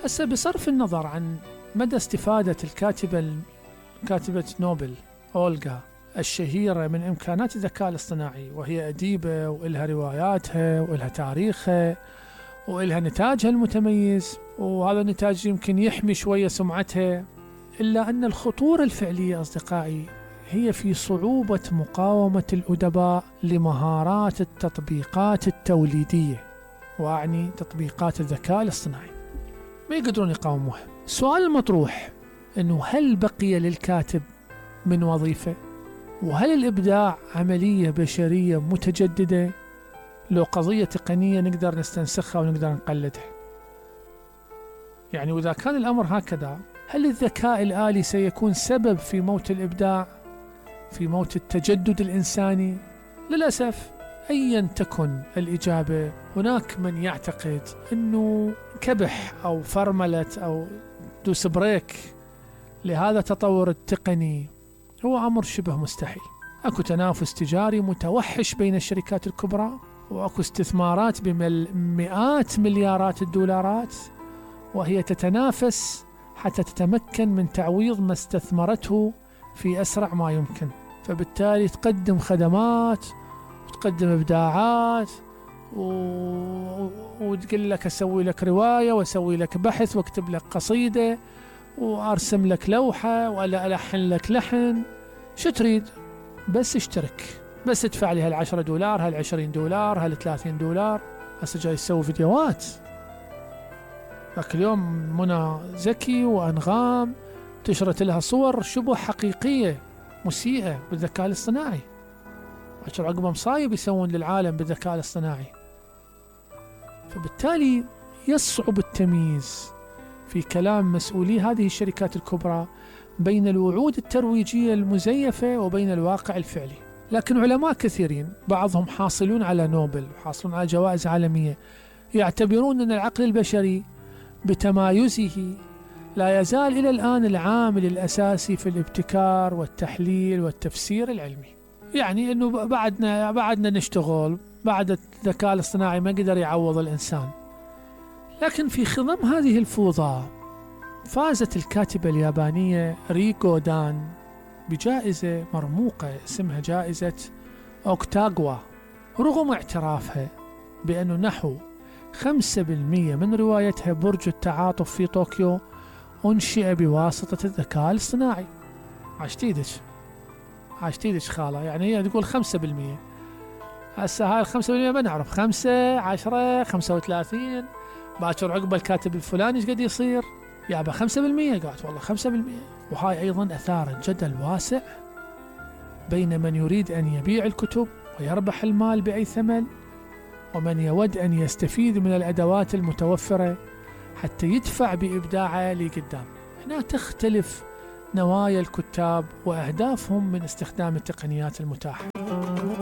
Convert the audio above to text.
هسه بصرف النظر عن مدى استفادة كاتبة نوبل أولغا الشهيرة من إمكانات الذكاء الاصطناعي، وهي أديبة وإلها رواياتها وإلها تاريخها وإلها نتاجها المتميز، وهذا النتاج يمكن يحمي شوية سمعتها، إلا أن الخطورة الفعلية أصدقائي هي في صعوبة مقاومة الأدباء لمهارات التطبيقات التوليدية، وأعني تطبيقات الذكاء الاصطناعي، ما يقدرون يقاوموها. السؤال المطروح أنه هل بقي للكاتب من وظيفة؟ وهل الإبداع عملية بشرية متجددة لو قضية تقنية نقدر نستنسخها ونقدر نقلدها؟ يعني وإذا كان الأمر هكذا، هل الذكاء الآلي سيكون سبب في موت الإبداع، في موت التجدد الإنساني؟ للأسف أيا تكن الإجابة، هناك من يعتقد أنه كبح أو فرملة أو دوس بريك لهذا التطور التقني هو أمر شبه مستحيل. أكو تنافس تجاري متوحش بين الشركات الكبرى، وأكو استثمارات بمئات مليارات الدولارات، وهي تتنافس حتى تتمكن من تعويض ما استثمرته في أسرع ما يمكن. فبالتالي تقدم خدمات وتقدم إبداعات وتقول لك أسوي لك رواية وأسوي لك بحث وأكتب لك قصيدة وأرسم لك لوحة ولا ألحن لك لحن. شو تريد؟ بس اشترك، بس ادفع لي $10 $20 $30. هسه جاي يسوي فيديوهات. ذاك اليوم منى زكي وأنغام تشرت لها صور شبه حقيقية مسيئة بالذكاء الاصطناعي، عشان عقب مصايب يسوون للعالم بالذكاء الاصطناعي. فبالتالي يصعب التمييز في كلام مسؤولي هذه الشركات الكبرى بين الوعود الترويجية المزيفة وبين الواقع الفعلي. لكن علماء كثيرين، بعضهم حاصلون على نوبل وحاصلون على جوائز عالمية، يعتبرون أن العقل البشري بتمايزه لا يزال إلى الآن العامل الأساسي في الابتكار والتحليل والتفسير العلمي. يعني أنه بعدنا نشتغل، بعد الذكاء الاصطناعي ما قدر يعوض الإنسان. لكن في خضم هذه الفوضى فازت الكاتبة اليابانية ريكو دان بجائزة مرموقة اسمها جائزة أوكتاغوا، رغم اعترافها بأنه نحو 5% من روايتها برج التعاطف في طوكيو أنشئ بواسطة الذكاء الاصطناعي. عاشتيدش خالة، يعني هي تقول 5%. هسه هاي 5% ما نعرف، 5 10 35 باكر عقب الكاتب الفلاني ايش قد يصير؟ يابا 5%. قالت والله 5%. وهاي أيضا أثارت جدل واسع بين من يريد أن يبيع الكتب ويربح المال بأي ثمن، ومن يود أن يستفيد من الأدوات المتوفرة حتى يدفع بإبداعه لقدام. هنا تختلف نوايا الكتاب وأهدافهم من استخدام التقنيات المتاحة.